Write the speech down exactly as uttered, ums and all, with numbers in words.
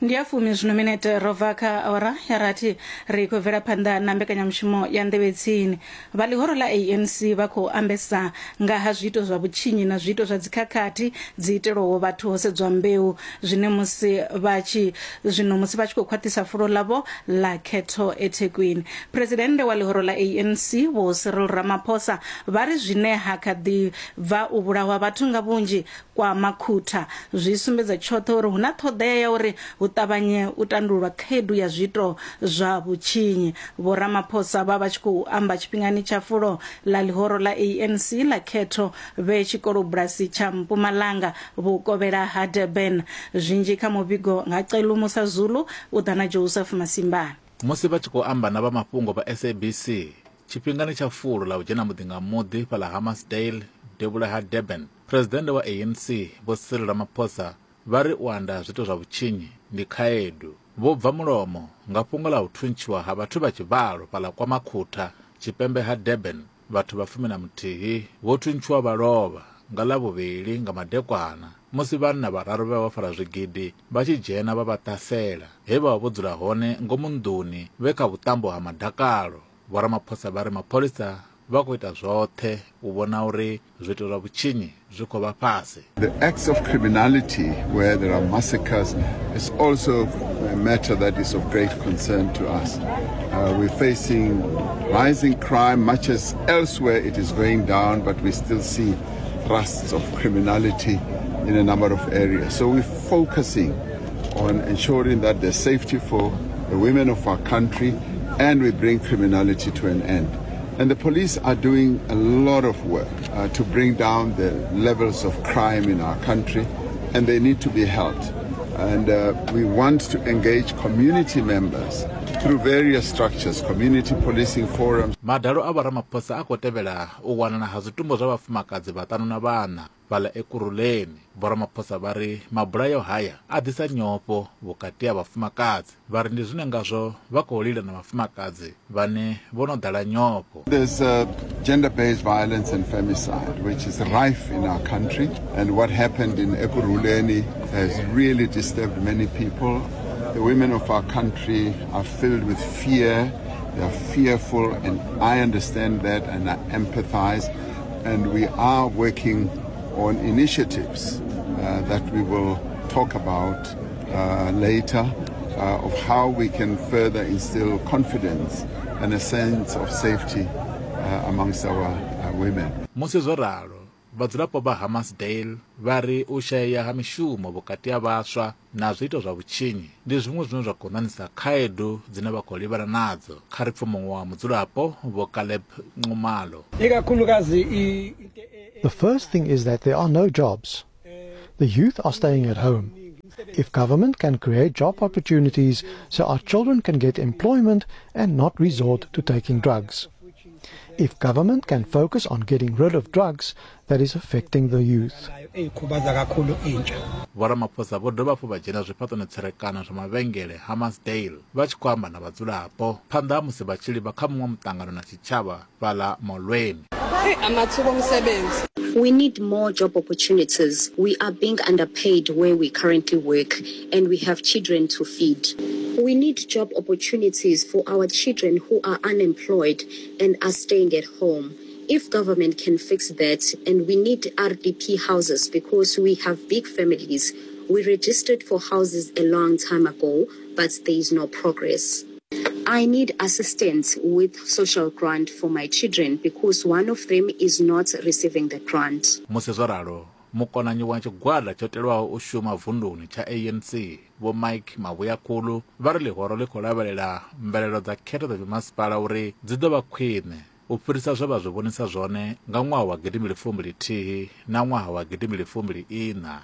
Ndi ya fumi zwino minete ro bva kha awara ya rathi. Ri khou bvela phanḓa na mbekanyamushumo ya Nḓevhetsini. Vha ḽihoro ḽa A N C vha khou ambesa nga ha zwiito zwa vhutshinyi na zwiito zwa dzikhakhathi dzi itelwaho vhathu ho sedzwa mbeu, zwine musi vha tshi zwino musi vha tshi khou khwaṱhisa fulo ḽavho ḽa khetho eThekwini. Phuresidennde wa ḽihoro ḽa A N C Vho Cyril Ramaphosa vha ri zwine ha kha ḓi bva u vhulahwa vhathu nga vhunzhi kwa Makhutha zwi sumbedza tshoṱhe uri hu na ṱhoḓea ya uri hu ṱavhanye u tandululwa khaedu ya zwiito zwa vhutshinyi. Vho Ramaphosa vha vha tshi khou amba tshifhingani tsha fulo ḽa ḽihoro ḽa A N C ḽa khetho vhe tshikolobulasi tsha Mpumalanga vhukovhela ha Durban. Zwinzhi kha muvhigo nga Celu Musa Zulu u ḓa na Joseph Masimbane. Musi vha tshi khou amba na vha mafhungo vha S A B C tshifhingani tsha fulo ḽa u dzhena muḓi nga muḓi fhaḽa Hammarsdale, devhula ha Durban, phuresidennde wa A N C Vho Cyril Ramaphosa vha ri u anda ha zwiito zwa vhutshinyi ndi khaedu. Vho bva mulomo nga fhungo ḽa u thuntshiwa ha vhathu vha tshivhalo fhaḽa kwa Makhutha, tshipembe ha Durban. Vhathu vha fumi na muthihi vho thuntshiwa vha lovha nga Ḽavhuvhili nga madekwana musi vhanna vhararu vhe vha fara zwigidi vha tshi dzhena vha vha ṱasela he vha vha vho dzula hone ngomu nḓuni vhe kha vhuṱambo ha madakalo. Vho Ramaphosa vha ri mapholisa vha khou ita zwoṱhe u vhona uri zwiito zwa vhutshinyi zwi khou vha fhasi. The acts of criminality where there are massacres is also a matter that is of great concern to us. Uh, we're facing rising crime, much as elsewhere it is going down, but we still see thrusts of criminality in a number of areas. So we're focusing on ensuring that there's safety for the women of our country and we bring criminality to an end. And the police are doing a lot of work uh, to bring down the levels of crime in our country, and they need to be helped. And uh, we want to engage community members through various structures, community policing forums. Madalo a vho Ramaphosa a khou tevhela u wanala ha zwitumbu zwa vhafumakadzi vhaṱanu na vhana fhaḽa Ekurhuleni. Vho Ramaphosa vha ri mabulayo haya a ḓisa nyofho vhukati ha vhafumakadzi. Vha ri ndi zwine ngazwo vha khou lila na vhafumakadzi vhane vho no ḓala nyofho. There's uh, gender based violence and femicide, which is rife in our country. And what happened in Ekurhuleni has really disturbed many people. The women of our country are filled with fear. They are fearful, and I understand that and I empathize. And we are working on initiatives uh, that we will talk about uh, later uh, of how we can further instill confidence and a sense of safety uh, amongst our uh, women. Musi zwo ralo, vhadzulapo vha Hammarsdale vha ri u shayea ha mishumo vhukati ha vhaswa na zwiito zwa vhutshinyi ndi zwiṅwe zwine zwa khou ṋaṋisa khaedu dzine vha khou livhana nadzo. Kha ri pfe muṅwe wa mudzulapo, Vho Caleb Nxumalo. Ikakhulukazi i- into e- The first thing is that there are no jobs. The youth are staying at home. If government can create job opportunities so our children can get employment and not resort to taking drugs. If government can focus on getting rid of drugs that is affecting the youth. Nayo eyikhubaza kakhulu intsha. Vho Ramaphosa vho dovha hafhu vha dzhena zwifhaṱoni tserekano zwa mavhengele Hammarsdale vha tshi khou amba na vhadzulapo phanḓa ha musi vha tshi livha kha muṅwe muṱangano na tshitshavha fhaḽa Molweni. Amathuba omsebenzi. We need more job opportunities. We are being underpaid where we currently work, and we have children to feed. We need job opportunities for our children who are unemployed and are staying at home. If government can fix that, and we need R D P houses because we have big families. We registered for houses a long time ago, but there is no progress. I need assistance with social grant for my children because one of them is not receiving the grant. Musi zwo ralo, mukonanyi wa tshigwada tsho telwaho u shuma vunduni tsha A N C Vho Mike Mabuyakhulu vha ri ḽihoro ḽi khou lavhelela mvelelo dza khetho dza mimasipala uri dzi ḓo vha khwine u fhirisa zwe vha zwi vhonisa zwone nga ṅwaha wa gidimbili fumbili thihi na ṅwaha wa gidimbili fumbili ina.